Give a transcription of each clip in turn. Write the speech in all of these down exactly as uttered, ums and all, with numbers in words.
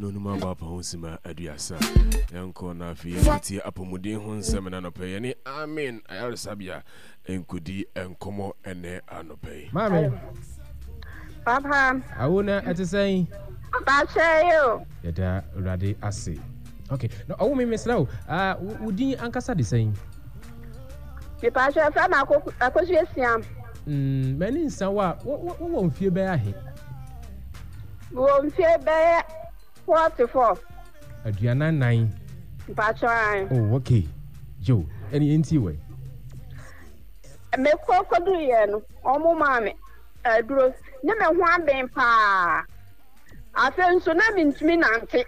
Nnɔnum abɔ apa ho sima aduasa. Yɛnkɔ na afei yɛnkɔtie apɔmuden ho nsɛm na anɔpɛ yɛne Amen Ayaresabea nkɔdi nkɔmmɔ ɛnɛ anɔpɛ yi. Maame. Papa. Awo na ɛte sɛn? Bakyɛ yi o. Yɛda Awurade ase. Okay, na ɔwo me mesrɛ wo, ah, wo din ankasa de sɛn? Mepakyɛ fɛ ma akɔsu esia. Mm, m'ani nsa wo a, wowɔ mfie bɛyɛ ahe? Mewɔ mfie bɛyɛ forty four. Aduanan nan. Mpakyɛ an. Oh, okay. Yo, ɛne yɛntie wɛ. Mekɔ kɔduruyɛ no, wɔn maa me aduro ne me ho aben paa. Afei nso na mentumi nante.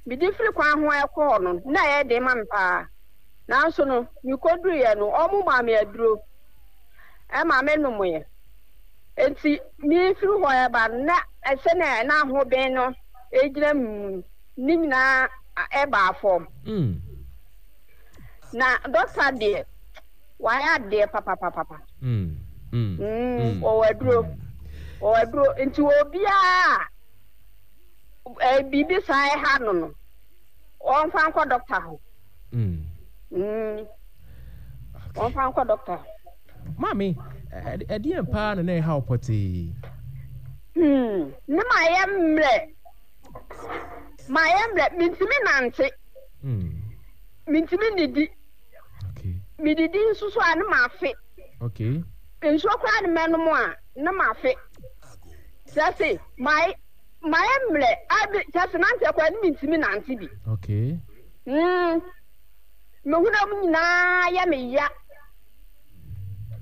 Mede firi kwan ho ɛkɔ hɔ no, na ɛyɛ den ma me paa. Nanso no, mekɔduruiɛ no, wɔn maa me aduro ɛma me nomoeɛ. Enti mefiri hɔ ɛba no, na sɛnea na ahoben no gyina me mu ne nyinaa ɛbaa fam. Mm. Na dɔkta deɛ, wayɛ adeɛ papapapapa. Mm. Mm. Mm, ɔwɔ aduro. Ɔwɔ aduro. Nti obiara a biribi saa ɛha no no, ɔmfa nkɔ dɔkta hɔ. Mm. Mm. Ɔmfa nkɔ dɔkta hɔ. Maame, ɛdeɛn paa na na ɛha wo pɔtee? Hmm, ne ma yɛ mmerɛ. Ma yɛ mmerɛ, mentumi nante. Mm. Mentumi nnidi. Okay. Medidi nso so a ne ma afe. Okay. Nsuo koraa ne mɛnom a ne ma afe. Kyerɛ se, ma ma yɛ mmerɛ, abi kyerɛ se nante koraa ne mentumi nante bi. Okay. Hmm. Me honam nyinaa yɛ me ya.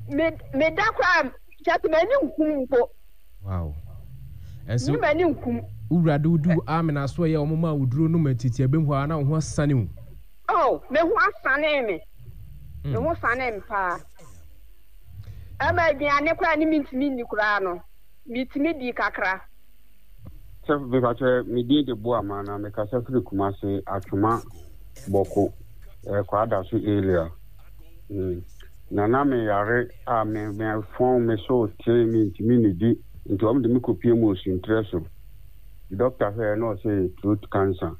Me meda koraa kyerɛ sɛ m'ani nkum mpo. Wow. Ɛnso Me m'ani nkum. Wura de wodi wo amena so ɛyɛ wɔn ma woduro nom atiti ɛbɛm hɔ a na wo ho asane wo. Oh, me ho asane me. Me ho sane me paa. Ɛma aduane koraa ne mentumi nni koraa no, metumi di kakra. Sɛ mepakyɛ me din de Boama na mekasa firi Kumase Atwoma Bɔko eh, Kwadaso area. Mm. Na na me yare a me me fɔn me so te me ntumi nnidi nti wɔn de me kɔpie mu osuntrɛ so. Doctor hwɛɛ na ɔse throat cancer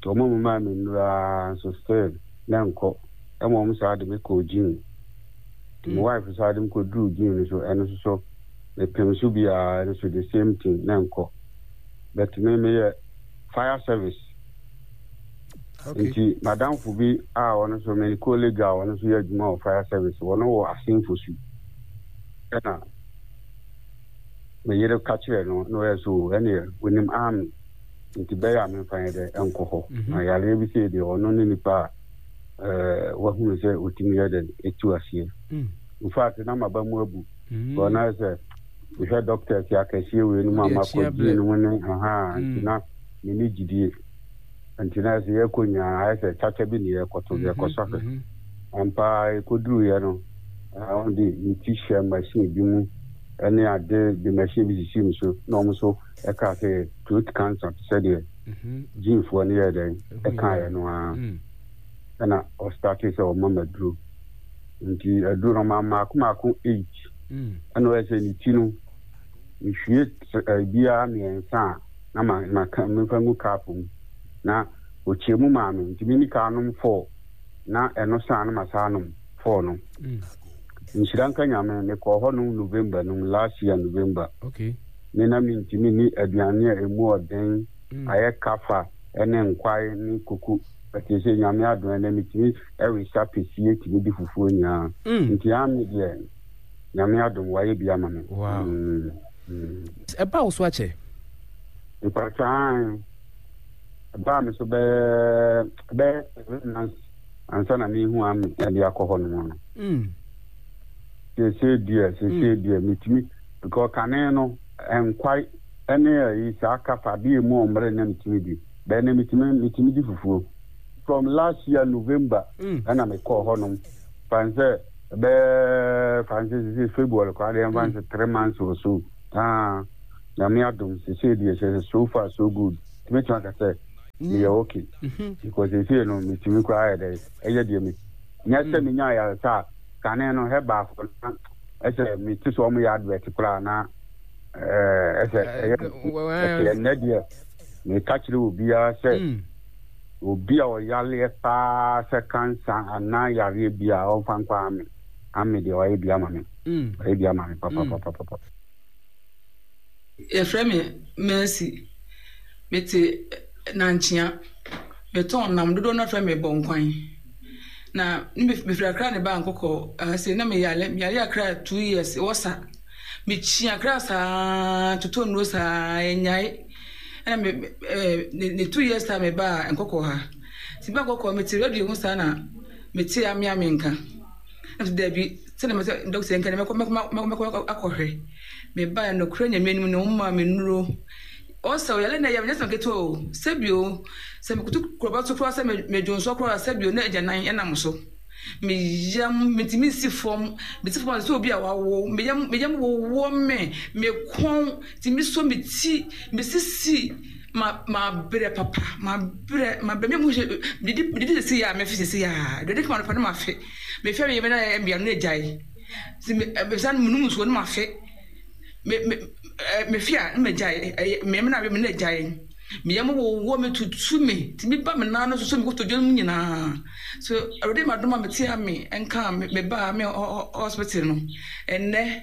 nti wɔn memaa me nnuro ara nso still na ɛnkɔ ɛma wɔn saa de me kɔɔ gym. Nti me wife saa de me kɔduruu gym no so ɛno nso so mepem so biara ɛno nso the same thing na ɛnkɔ. But me meyɛ fire service. Okay. Nti madamfo bi a ɔno nso me colleague a ɔno nso yɛ adwuma wɔ fire service wɔno wɔ Asenfo su ɛna me yere ka kyerɛ no na ɔyɛ so ɛneɛ onim army nti bɛyɛ a memfa yɛ dɛ ɛnkɔ hɔ Mhm. na yareɛ bi sei deɛ ɔno ne nipa a ɛɛ wahunu sɛ ɔtumi yɛ dɛ ɛtu aseɛ. Mm. In fact na maba mu abu. Mm. Because na ayɛ sɛ mehwɛ doctors akɛseɛ wei no mu a Wode akyi makɔ abrɛ. gye no mu ne aha nti Mm. na menni gyidie. Nti na ayɛ sɛ yɛkɔ nyinaa ayɛ sɛ kyakya bi ne yɛkɔto Mhm, yɛkɔsɔ ahwɛ. mhm. Ampa ara yɛkɔduruiɛ no wɔn de me ti hyɛ machine bi mu ne ade de machine bi sisii me so na wɔn nso ɛkaa sɛ throat cancer te sɛ deɛ Mhm. gyenefoɔ no yɛɛ dɛn Ɛhu ɛkaeɛ yɛ. no ara. Mm. Ɛna ɔstartee sɛ ɔma me aduro. Nti aduro no ɔmaa me mmaako mmaako eight. Mm. Ɛna ɔyɛ sɛ ne ti no mehwie biara mmiɛnsa a na ma maka memfa ngu cup mu na ɔkyɛ mu maa me nti menni ka nom four na ɛno saa no ma saa nom four no. Mm. Nhyira nka Nyame mekɔɔ hɔ nom November nom last year November. Okay. Me na mentumi nni aduane a ɛmu ɔden Mm. ayɛ kafa ne nkwae ne koko but sɛ Nyame adom ɛnɛ metumi ɛwesa pɛsie tumi di fufuo nyinaa. Mm. Nti ame deɛ Nyame adom wayɛ bi ama me. Wow. Mm. Mm. Ɛbaa wo so akyɛ? Mpakyɛ ae. Ɛbaa me so bɛyɛ bɛyɛ seven months ansa na mehu ame ɛde akɔ hɔ nom no. Mm. Seesei deɛ seesei deɛ metumi because kane no nkwae ɛne ayi saa kafa adeɛ emu ɔmmere na metumi di bɛn na metumi metumi di fufuo from last year November Mm. ɛna mekɔɔ hɔ nom fan sɛ ɛbɛyɛ fan sɛ sisi February koraa deɛ ɛmfa sɛ three months or so ah Nyame adom seesei deɛ kyerɛ sɛ so far so good tumi tumi aka sɛ meyɛ okay Mhm. because seesei no metumi koraa yɛ dɛ ɛyɛ deɛ me nyɛ sɛ menya ayaresa a kane no herbal na ɛsɛ mete sɛ ɔmo yɛ advert koraa na ɛɛ ɛsɛ ɛyɛ ɛsɛ ɛnɛ deɛ Meka kyerɛ obiara sɛ obi a ɔyaleɛ paa sɛ kansa anaa yareɛ bi a ɔmfa nkɔ Ame. Ame deɛ ɔyɛ bi ama me. Ɔyɛ bi ama me papapapapa. Yɛfrɛ me Mercy. Mete Nankyea. Metɔn nam dodoɔ no frɛ me Bɔnkwan. Na mefiri Accra ne baa Nkɔkɔɔ ha sei na meyare meyare Accra two years wɔ sa. Mekyi Accra saa totɔ nnuro saa ɛnyae. Ɛna me ɛɛ ne two years time mebaa Nkɔkɔɔ ha. Nti mebaa Nkɔkɔɔ mete radio ho saa na mete amea me nka. Na mese dabi sɛdeɛ mese dɔkta nka no mɛkɔ mɛkɔ mɛkɔ akɔhwɛ. Mebaeɛ nokorɛ Nyame anim no wɔmaa me nnuro. Ɔsɛ ɔyare na ɛyɛ me nyɛ asɛm ketewa o. Sɛbi o, sɛ mekoto kuraba so koraa sɛ medwonsɔ koraa sɛbi o na agyanan ɛnam so. Me yam metumi nsi fam, mesi fam a sɛ obi a wawo, me yam me yam wowɔ me, me kɔn tumi sɔ me ti, me sisi ma mabrɛ papa, mabrɛ mabrɛ me mu hwɛ medidi medidi sisi a mefe sisi a, aduane kama no pɛ na mafe. Mefe a meyɛ me na ɛyɛ me ya no na agyae. Nti me mesan menom nsuo na mafe. Me me mefe a na magyae, ɛyɛ me na me na agyae. Me yam wowɔ me tutu me, tumi ba me nan no so me kotodwe no mu nyinaa. So Awurade ma dom a mete a me nka me me ba me hospital no. Ɛnnɛ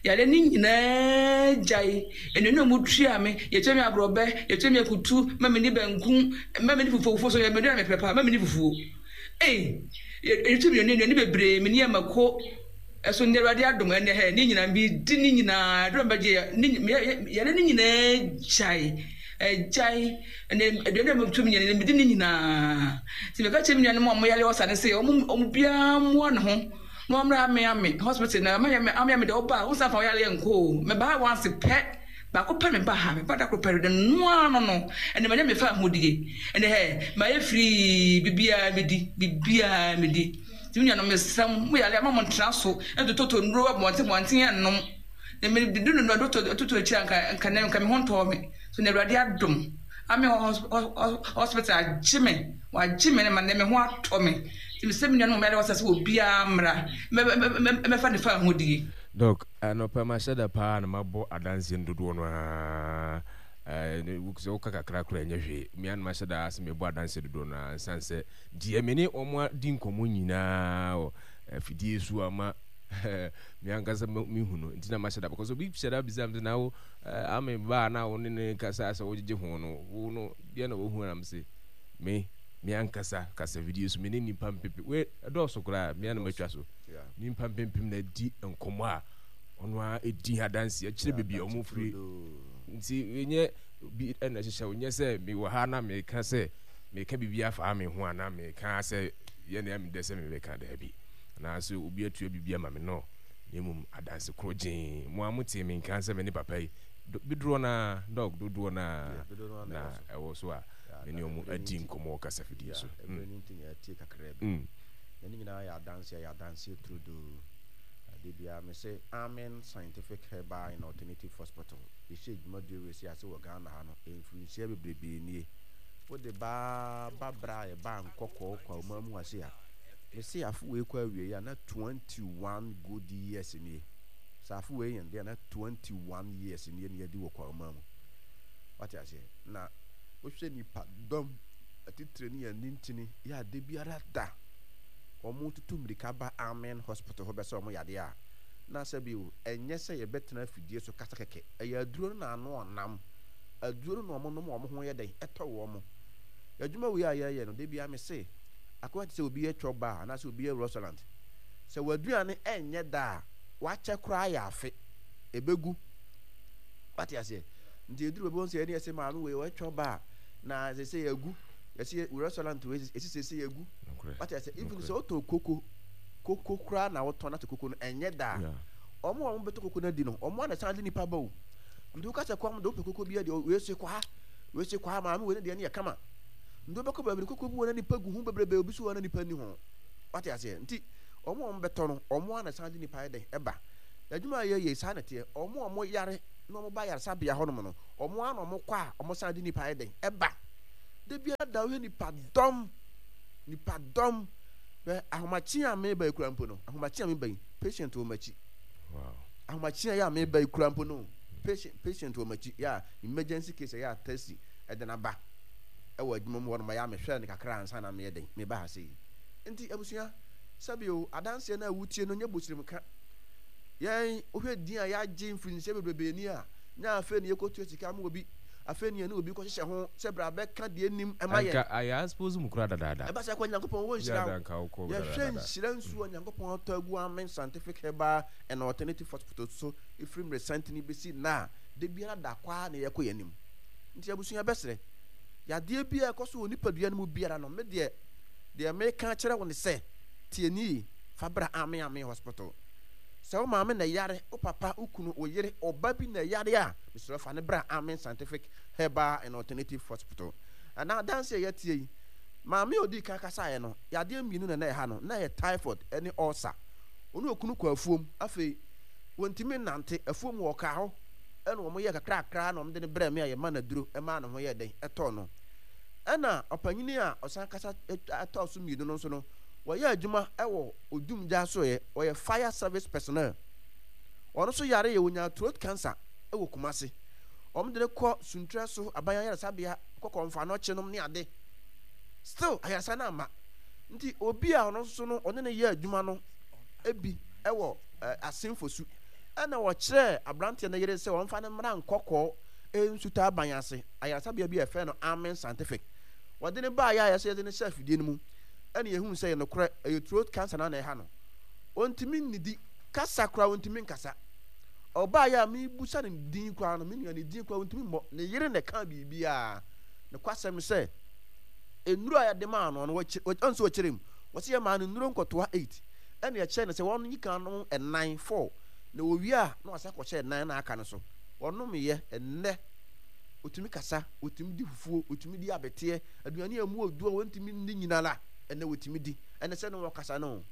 yare ne nyinaa gyae. Nnuane a wɔtua me, yɛtua me aborɔbɛ, yɛtua me akutu, ma me ni banku, ma me ni fufuo, fufuo so yɛ me aduane a mepɛ paa, ma me ni fufuo. Ei, yɛtua me nnuane bebree, me ni amako. Ɛso nnɛ Awurade adom ɛnnɛ hɛ ne nyinaa medi ne nyinaa adom bɛgye ne yɛne ne nyinaa gyae ɛgyae ɛnɛ aduane a metu me nyinaa medi ne nyinaa nti meka kyerɛ me nuanom a wɔyare ɔsa ne sɛ wɔn wɔn biara mmoa ne ho na wɔn mmra ame ame hospital na ama ame ame ame deɛ ɔba a wɔn san fa ɔyare nkɔ o mɛba ha once pɛ baako pɛ meba ha meba da koro pɛ de noa no no ɛnɛ manya mefa ahodie ɛnɛ hɛ mayɛ firii bibiara medi bibiara medi. Nti me nuanom, mesrɛ mo, mo yare a, mma monntena so ntotɔtotɔ nnuro abɔnten abɔnten nnom. Na mede no no totɔ akyiri a, nka nka nɛ nka me ho ntɔɔ me. So na Awurade adom ame wɔ hospital agye me, wagye me ma nɛ me ho atɔ me. Nti mesrɛ me nuanom a wɔyare wɔ sɛ obiara mmra mmɛfa ne fahodie. Doc, anɔpa mahyɛ da paa na mabɔ adanseɛ no dodoɔ no ara. Sɛ woka kakra koraa ɛnyɛ hwee. Me ara na mahyɛ da sɛ mebɔ adanseɛ dodoɔ no ara ɛsiane sɛ deɛ me ne wɔn adi nkɔmmɔ nyinaa wɔ afidie so ama me ankasa mehu no nti na mahyɛ da because obi hyɛ da bisa me sɛ na wo ame ba a na wo ne ne kasa sɛ wogyegye ho no wo no deɛ na wohu anam se me me ankasa kasa video so me ne nipa mpepem we ɛdɔɔso koraa me anam atwa so nipa mpempem na di nkɔmmɔ a ɔno ara ɛdi adanse akyerɛ baabi a wɔn firi nti nyɛ bi ɛna ɛhyehyɛ wo nyɛ sɛ mewɔ ha na meka sɛ meka biribi afa me ho anaa meka sɛ yɛ nea medɛ sɛ mebɛka daabi anaasɛ obi atua biribi ama me no na mmom adanse koro gyee mo a motee me nka sɛ me ne papa yi dodoɔ no a dɔg dodoɔ no a na ɛwɔ so a me ne ɔmo adi nkɔmmɔ wɔ kasafidie so. Ɛberɛ no nti na yɛatie kakra bi. Na ne nyinaa yɛ adanseɛ, yɛ adanseɛ turodoo. Ade biara me se Amen Scientific Herbal and Alternative Hospital yɛhyɛ dwumadie wei ase wɔ Ghana ha no mfirinhyia bebrebee nie. Wode ba ba berɛ a yɛbaa Nkɔkɔɔ Kwauma mu ase a, mese afe wei kɔ awieɛ a na twenty one good years nie. Sɛ afe wei yɛn deɛ na twenty one years nie na yɛadi wɔ Kwauma mu. Wate aseɛ? Na wohwɛ nipa dɔm atitire ne yɛn nintini yɛ ade biara da wɔn tutu mmirika ba Amen Hospital hɔ bɛsɛ wɔn yadeɛ a, na sɛ bio ɛnyɛ sɛ yɛbɛtena afidie so kasa kɛkɛ. Ɛyɛ aduro no na ano ɔnam. Aduro no na wɔnom wɔn ho yɛ dɛn? Ɛtɔ wɔn. Adwuma wei a yɛyɛ no, da biara mese, akɔyɛ te sɛ obi yɛ chop bar anaasɛ obi yɛ restaurant. Sɛ w'aduane ɛnyɛ da a, wakyɛ koraa yɛ afe, ɛbɛgu. Wate aseɛ? Nti ɛduru baabi wɔn sɛ ɛne ɛsɛ maame wei ɔyɛ chop bar na sɛ sɛ yɛagu. Yɛsi restaurant wei ɛsi sɛ sɛ yɛagu. Wate aseɛ? Even sɛ wotɔn koko, koko koraa na wotɔn na sɛ koko no ɛnyɛ da a, wɔn a wɔbɛtɔ koko no adi no, wɔn a na ɛsan de nipa ba o. Nti woka sɛ kɔm de wopɛ koko bi adi, wei se kɔ ha, wei se kɔ ha, maame wei ne deɛ no yɛ kama. Nti wobɛkɔ baabi no koko bi wɔ na nipa gu ho bebrebe, obi so wɔ na nipa nni ho. Wate aseɛ? Nti wɔn a wɔbɛtɔ no, wɔn a na ɛsan de nipa yɛ dɛn ɛba. Adwuma a yɛyɛ saa na ɛteɛ. Wɔn a wɔyare na wɔba ayaresabea hɔnom no, wɔn a na wɔkɔ a wɔsan de nipa yɛ dɛn ɛba. Da biara da wohwɛ nipa dɔm, nipa dɔm. Hwɛ ahomakye a meba yi kura mpo no, ahomakye a meba yi, patient wɔ m'akyi. Wow. Ahomakye a yɛ a meba yi kura mpo no, patient patient wɔ m'akyi. Yɛ a emergency case yɛ a taxi de no aba wɔ adwuma mu hɔ nom ɛyɛ a mehwɛɛ no kakra ansa na meyɛ dɛn meba ha sei. Nti abusua, sɛbi o, adanseɛ no a wotie no nyɛ bosiremka. Yɛn, wohwɛ din a yɛagye mfirinhyia bebrebe ni a, nyɛ afei na yɛkɔtua sika ma obi, afei na yɛne obi kɔhyehyɛ ho sɛ bra bɛka deɛ nnim ma yɛn. Anka ayɛ aspose mu koraa dadaada. Ɛba saa koraa Nyankopɔn wɔ nhyira o. Yɛhwɛ nhyira nsuo a Nyankopɔn atɔ agu Amen Scientific Herbal and Alternative Hospital so firi mmerɛsantene bɛsi nnɛ a, da biara da kɔ ara na yɛkɔ yɛn anim. Nti abusua bɛsrɛ, yadeɛ biara a ɛkɔ so wɔ nipadua no mu biara no, me deɛ, deɛ meka akyerɛ wo ne sɛ, tie nie yie, fa bra Amen Amen Hospital. Sɛ wo maame na ɛyare, wo papa, wo kunu, wo yere, ɔba bi na ɛyare a, mesrɛ wo fa no bra Amen Scientific Herbal and Alternative Hospital. Ɛna adanse a yɛatie yi, maame a ɔdii kan kasaeɛ no, yadeɛ mmienu na na ɛha no, na ɛyɛ typhoid ne ulcer. Ɔne okunu kɔɔ afuom, afei wɔntumi nnante, afuom hɔ ɔkaa hɔ, ɛna wɔyɛɛ kakrakra na wɔde no brɛɛ me a yɛma no aduro maa ne ho yɛɛ dɛn, ɛtɔɔ no. Ɛna ɔpanyini a ɔsan kasa tɔɔ so mmienu no nso no, wɔyɛ adwuma wɔ odumgya asoɛeɛ, ɔyɛ fire service personnel. Ɔno nso yareeɛ, ɔnyaa throat cancer wɔ Kumasi. Wɔde no kɔ Suntrɛ so aban ayaresabea, kɔ Kɔmfoanɔkye nom ne ade. Still ayaresa no amma. Nti obi a ɔno nso no ɔne no yɛ adwuma no bi wɔ Asenfosu ɛna ɔkyerɛɛ aberanteɛ no yere sɛ ɔmfa no mmra Nkɔkɔɔ Nsuta aban ase ayaresabea bi a yɛfrɛ no Amen Scientific. Wɔde no baeɛ a yɛsɛ yɛde no hyɛ afidie no mu ɛna yɛhuu sɛ ɛyɛ nokorɛ ɛyɛ throat cancer na na ɛha no. Ɔntumi nnidi, kasa koraa ɔntumi nkasa. Ɔbaeɛ a mebusa no din koraa no, me nua ne din koraa ɔntumi mmɔ. Ne yere na ɛkaa biribiara. Nokwasɛm sɛ nnuro a yɛde maa no no, ɔn sɛ ɔkyerɛ mu. Wɔsi yɛmaa no nnuro nkɔtoa eight. Ɛna yɛkyerɛ no sɛ wɔnyi kan nom nnan, four. Na wɔwie a na wasan akɔhyɛ nnan na aka no so. Wɔnomyɛ ɛnnɛ ɔtumi kasa, ɔtumi di fufuo, ɔtumi di abeteɛ, aduane a ɛmu ɔdu a wɔntumi nni nyinara ɛnnɛ wɔtumi di. Ɛnɛ sɛ ne wɔkasa no,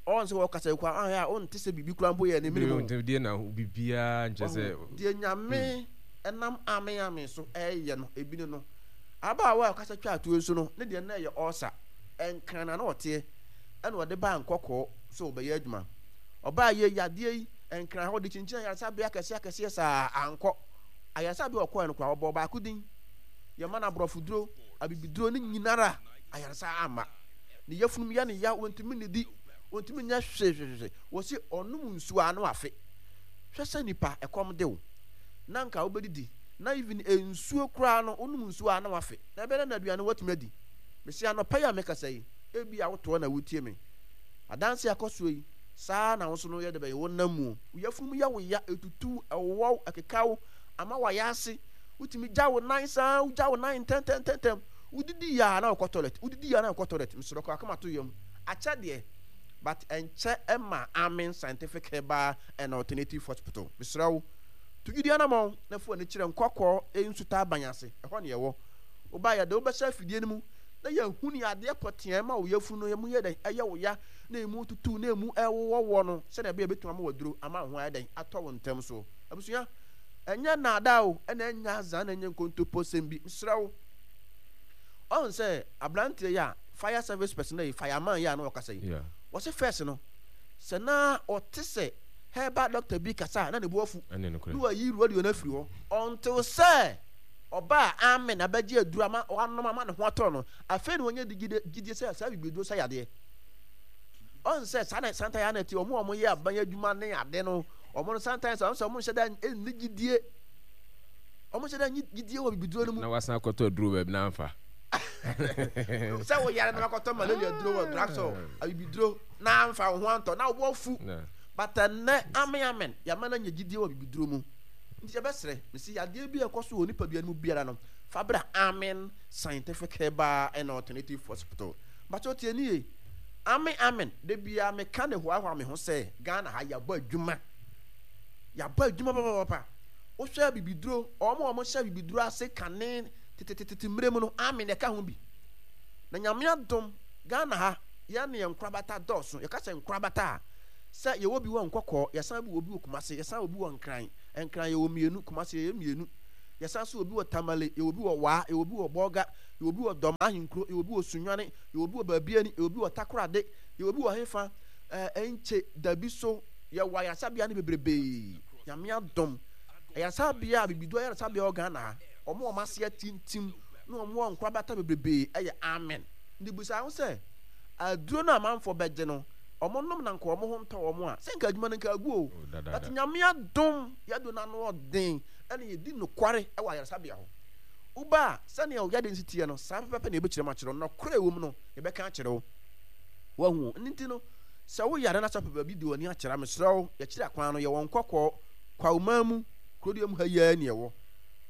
ɔn sɛ wɔkasa yi koraa ahwɛ a wonte sɛ biribi koraa mpo yɛ ne mene mu. Deɛ na biribiara nkyɛ sɛ. Deɛ Nyame ɛnam ame ame so ɛyɛ no ebi ne no. Abaawa a ɔkasa twaa tuo nso no ne deɛ na ɛyɛ ɔɔsa, ɛnkran na na ɔteɛ ɛna ɔde baa nkɔkɔɔ sɛ ɔbɛyɛ adwuma. Ɔbaa yɛ yadeɛ yi ɛnkran hɔ de kyinkyin ayaresabea akɛseɛ akɛseɛ saa ankɔ. Ayaresabea ɔkɔɛ no koraa ɔbɔɔ baako din. Yɛma no aborɔfo duro, abibiduro ne nyinara ayaresa amma. Ne yafunum yɛ ne ya, wɔntumi nnidi, wɔntumi nyɛ hwee hwee hwee. Wɔsi ɔnom nsuo a na wafe. Hwɛ sɛ nipa ɛkɔm de wo na nka wobɛdidi na even nsuo koraa no wonom nsuo a na wafe na ɛbɛyɛ dɛn na aduane woatumi adi. Mese anɔpa yi a mekasa yi ebia wotoɔ na wotie me. Adanse a ɛkɔ soɔ yi saa na wo nso no yɛ de bɛyɛ wonam mu. Wo yafunu mu yɛ wo ya, ɛtutu wo, ɛwowɔ wo, ɛkeka wo, ama wayɛ ase. Wotumi gya wo nan saa, wogya wo nan ntɛntɛntɛntɛm. Wodidi yɛ a na wokɔ toilet, wodidi yɛ a na wokɔ toilet. Mesrɛ kɔ akoma to yam. Akyɛ deɛ but ɛnkyɛ ɛma Amen Scientific Herbal and Alternative Hospital. Mesrɛ wo, tu gyidi anamɔn na fa w'ani kyerɛ Nkɔkɔɔ Nsutaaban ase, ɛhɔ na yɛwɔ. Woba a, yɛde wo bɛhyɛ afidie no mu na yɛahu nea adeɛ pɔtee a ɛma wo yafunu no mu yɛ dɛn, ɛyɛ wo ya, na emu tutu, na emu ɛwowɔ woɔ no, sɛdeɛ ɛbɛyɛ yɛbɛtumi ama wo aduro ama wo ho ayɛ dɛn, atɔ wo ntɛm so. Abusua, ɛnyɛ nnaadaa o, ɛna ɛnyɛ azaa na ɛnyɛ nkontoposɛm bi. Mesrɛ wo. Ɔhu sɛ aberanteɛ yi a fire service personnel yi, fireman yi a na ɔkasa yi, wɔse first no, sɛ na ɔte sɛ herbal doctor bi kasa a na ne bo afu na wayi radio no afiri hɔ until sɛ ɔbaa amen abɛgye aduro ama wanom ama ne ho atɔ no, afei na wanya gyidie sɛ saa bibiduro sa yadeɛ. Ɔn sɛ saa na santan ya na ɛte, wɔn a wɔyɛ aban adwuma ne ade no, wɔn no santan sɛ wɔn sɛ wɔn nhyɛ da nni gyidie, wɔn nhyɛ da nni gyidie wɔ bibiduro no mu. Na wasan akɔtɔ aduro baabi na anfa. Sɛ woyare na wakɔtɔ malaria duro wɔ drugstore, abibiduro na anfa wo ho antɔ na wo bo afu. But ɛnnɛ, amen amen, yɛama no anya gyidie wɔ bibiduro mu. Nti yɛbɛsrɛ, mese yadeɛ bi a ɛkɔ so wɔ nipadua no mu biara no, fa bra Amen Scientific Herbal and Alternative Hospital. Mpakyɛw tie nie, Amen amen, da biara meka de hoahoa me ho sɛ Ghana ha yɛabɔ adwuma. Yɛabɔ adwuma papapapa. Wohwɛ abibiduro, wɔn a wɔhyɛ abibiduro ase kane tetetete mmerɛ mu no, amen ɛka ho bi. Na Nyame adom, Ghana ha, yɛn ne yɛn nkorabata dɔɔso. Yɛka sɛ nkorabata a, sɛ yɛwɔ bi wɔ Nkɔkɔɔ, yɛsan bi wɔ bi wɔ Kumase, yɛsan wɔ bi wɔ Nkran. Nkran yɛwɔ mmienu, Kumase yɛyɛ mmienu. Yɛsan nso wɔ bi wɔ Tamale, yɛwɔ bi wɔ Waa, yɛwɔ bi wɔ Bolga, yɛwɔ bi wɔ Dɔm Ahenkuro, yɛwɔ bi wɔ Sunyani, yɛwɔ bi wɔ Baabiani, yɛwɔ bi wɔ Takorade, yɛwɔ bi wɔ hefa, ɛɛ Nkye, Dabi so. Yɛwɔ ayaresabea no bebrebee. Nyame adom, ayaresabea a, Bibiduro ayaresabea wɔ Ghana ha. Wɔn a wɔn ase atintim na wɔn wɔ nkorabata bebrebee yɛ amen. Nti bisa ho sɛ, aduro no a amanfoɔ bɛgye no, wɔn nom na nka wɔn ho ntɔ wɔn a, sɛ nka adwuma no nka agu o. Oh, dadaada. But Nyame adom, yɛn aduro no ano ɔden, ɛna yɛdi nokware wɔ ayaresabea hɔ. Woba a, sɛnea wo yadeɛ no si teɛ no, saa pɛpɛpɛ na yɛbɛkyerɛ mu akyerɛ wo. Nɔkorɛ a ɛwɔ mu no, yɛbɛka akyerɛ wo. Wahu o. Ɛno nti no, sɛ woyare na sɛ wopɛ baabi de w'ani akyerɛ a, mesrɛ wo, yɛkyerɛ akwan no, yɛwɔ Nkɔkɔɔ, Kwawman mu, kurodua mu ha yi ara na yɛwɔ.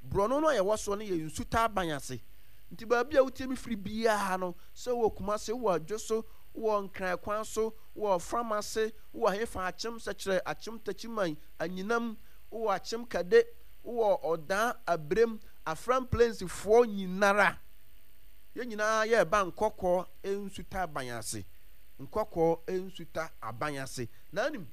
Borɔno no a yɛwɔ soɔ no yɛ Nsutaaban ase. Nti baabi a wotie me firi biara no, sɛ wowɔ Kumasi, wowɔ Adwoso, wowɔ Nkran kwan so, wowɔ Ɔfram ase, wowɔ hefa, Akyem Sɛkyerɛ, Akyem Takyiman, Anyinam, wowɔ Akyem Kade, wowɔ Ɔdaa, Abirem, Afram Plains foɔ nyinara, yɛn nyinaa yɛreba Nkɔkɔɔ Nsutaaban ase. Nkɔkɔɔ Nsuta Aban ase. Na wonim,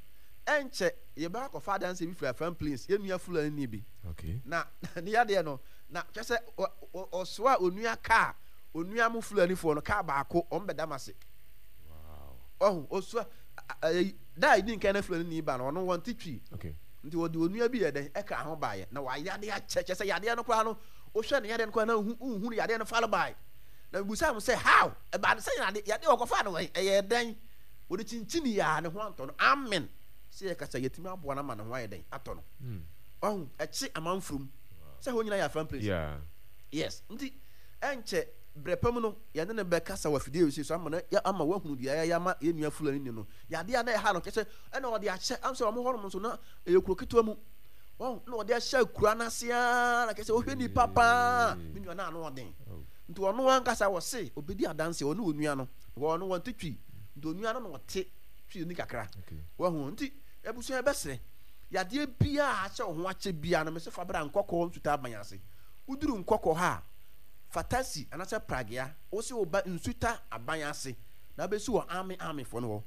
ɛnkyɛ yɛbɛkɔ akɔfa adanseɛ bi firi Afram Plains, yɛn nua Fulani bi. Okay. Na ne yadeɛ no, na kyerɛ sɛ ɔsoa onua kaa, onua mo Fulanifoɔ no kaa baako, wɔn bɛda m ase. Wow. Ɔho, ɔsoa, da a ɛdi nkan na Fulani ni ba no, ɔno wɔn te Twi. Okay. Nti wɔde onua bi yɛ dɛn ɛka ho baeɛ, na wayade akyɛ, kyerɛ sɛ yadeɛ no koraa no, wohwɛ ne yadeɛ no koraa na wohu no yadeɛ no fare bae. Na mebusaa mo sɛ, how? Ɛbaa no sɛ yade, yadeɛ wɔkɔfaa no wɛn? Ɛyɛɛ dɛn? Wɔde kyinkyini yɛ a ne ho antɔ no. Amen. Sɛ yɛkasa yɛtumi aboa no ama ne ho ayɛ dɛn? Atɔ no. Wahu, ɛkye amanfurum. Sɛ hɔ nyinaa yɛ Afram Place. Yeah. Yes. Nti, ɛnkyɛ berɛ pa mu no, yɛne no bɛkasa wɔ afidie wei so ama no, ama wahunu deɛ yɛayɛ ama yɛn nua Fulani ni no. Yadeɛ a na ɛha no, kyerɛ sɛ, ɛna ɔde ahyɛ, am sɛ wɔn hɔnom nso na ɛyɛ kuro ketewa mu. Wahu, na ɔde ahyɛ akura no ase ara, na kyerɛ sɛ wohwɛ nipa paa, me nua no ano ɔden. Nti ɔno ankasa wɔse ɔbɛdi adanseɛ, ɔne onua no, because ɔno wɔnte Twi, nti onua no na ɔte Twi ni kakra. Wahu, nti abusua yɛbɛsrɛ, yadeɛ biara a ahyɛ wo ho akyɛ biara no, mese fa bra Nkɔkɔɔ Nsuta Aban ase. Woduru Nkɔkɔɔ ha a, fa taxi anaasɛ pragea, wose woba Nsuta Aban ase, na wobɛsi wɔ Army Armyfoɔ no hɔ.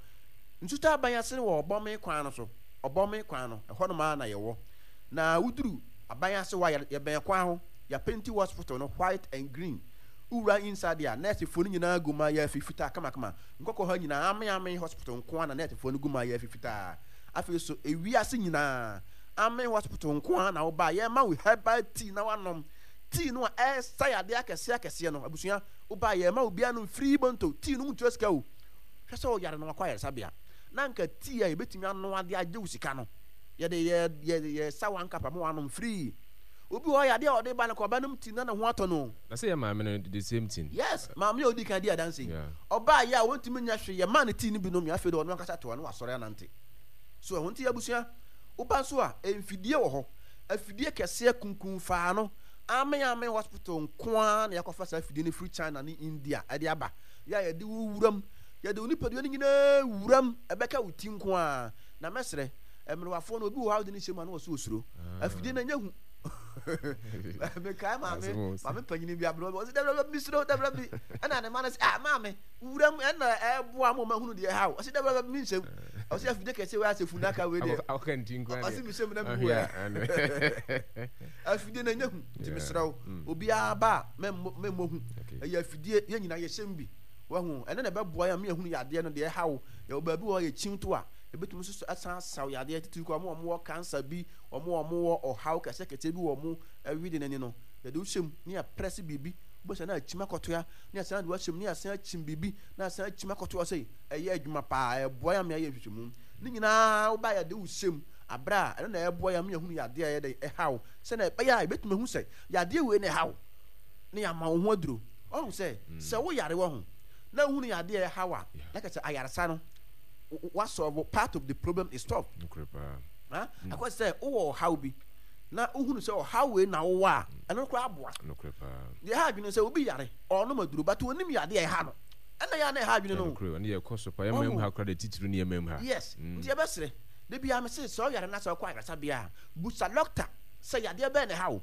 Nsuta Aban ase no wɔ Ɔbɔme kwan no so, Ɔbɔme kwan no, ɛhɔnom ara na yɛwɔ. Na woduru aban ase hɔ a, yɛbɛn kwan ho, yɛapenti hospital no white and green. Wowura inside a, nɛɛsefoɔ no nyinaa gu mayaafi fitaa kamakama. Nkɔkɔ ha nyinaa, Ame Ame Hospital nko ara na nɛɛsefoɔ no gu mayaafi fitaa. Afei nso, ewiase nyinaa, Ame Hospital nko ara na woba a, yɛma wo herbal tea na woanom. Tea no a ɛresa yadeɛ akɛseɛ akɛseɛ no, abusua, woba a yɛma obiara nom free bonto. Tea no wontua sika o. Hwɛ sɛ ɔyare na wakɔ ayaresabea. Na anka tea a yɛbɛtumi anoa de agye wo sika no, yɛde yɛ yɛ yɛsa one cup ama wanom free. Obi wɔ hɔ yadeɛ a ɔde ba no kɔ ɔbɛnom tea na ne ho atɔ no. Na sɛ yɛ maame no the same thing. Yes, maame a odi kan di adanse yi. Yeah. Ɔbaa yɛ a wɔntumi nyɛ hwee, yɛmaa no tea no bi nomee, afei de ɔno ankasa te hɔ na wasɔre anante. So ɛho nti abusua, woba nso a, mfidie wɔ hɔ. Afidie kɛseɛ kunkunfaa no, Amen Amen Hospital nko ara na yɛakɔfa saa afidie no firi China ne India de aba. Yɛ a yɛde wo wuram, yɛde wo nipadua no nyinaa wuram, ɛbɛka wo ti nko ara. Na mɛsrɛ, mmerewafoɔ no, obi wɔ hɔ a wode no hyɛ mu a na ɔsɛ osuro. Afidie no ɛnyɛ hu. Mekae maame, maame panyini bi aberewa bi, ɔsɛ dabra bi mesuro, dabra bi. Ɛna ne ma no sɛ, ah maame, wuram ɛna ɛboa mo ma hunu deɛ ɛha wo. Ɔsɛ dabra bi menhyɛ mu. Ɔsɛ afidie kɛseɛ wei asɛ funaka wei deɛ. Ɔsɛ mehyɛ mu na mewu ɛ. Afidie no ɛnyɛ hu, nti mesrɛ wo, obiara ba a mɛmmɔ hu. Ɛyɛ afidie, yɛn nyinaa yɛhyɛ mu bi. Wahu, ɛno na ɛbɛboa yɛn ama yɛahunu yadeɛ no deɛ ɛha wo. Yɛwɔ baabi wɔ hɔ a yɛkyin to a, ɛbɛtumi nso so asan asaw yadeɛ titiriw koraa wɔn a wɔwɔ cancer bi, wɔn a wɔwɔ ɔhaw kɛseɛ kɛseɛ bi wɔ wɔn wede no ani no, yɛde wo hyɛ mu na yɛaprɛse biribi, wobɛhu sɛ na akyim akɔtoa, na yɛasan de wo ahyɛ mu na yɛasan akyim biribi, na asan akyim akɔtoa sɛ ɛyɛ adwuma paa, ɛboa yɛn ama yɛayɛ nhwehwɛmu. Ne nyinaa woba a yɛde wo hyɛ mu aberɛ a ɛno na ɛboa yɛn ama yɛahunu yadeɛ a ɛyɛ dɛn ɛha wo, sɛdeɛ ɛbɛyɛ a yɛbɛtumi ahu sɛ yadeɛ wei na ɛha wo na yɛama wo ho aduro. Wahu sɛ sɛ woyare wɔ ho na wohunu yadeɛ a ɛha wo a, na kyerɛ sɛ ayaresa no wa solve part of the problem is solved. Nokorɛ paa. Ha? Akɔ sɛ wowɔ ɔhaw bi na wohunu sɛ ɔhaw wei na wowɔ a, ɛno no koraa aboa. Nokorɛ paa. Deɛ ɛha adwene sɛ obi yare, ɔnom aduro, but onim yadeɛ a ɛha no. Ɛna yɛ a na ɛha adwene no. Nokorɛ, ɛno yɛ ɛkɔ so paa. Yɛn man mu ha koraa deɛ titiriw ne yɛn man mu ha. Yes, nti yɛbɛsrɛ. Da biara mese sɛ ɔyare na sɛ ɔkɔ ayaresabea a, busa dɔkta sɛ yadeɛ bɛn na ɛha wo.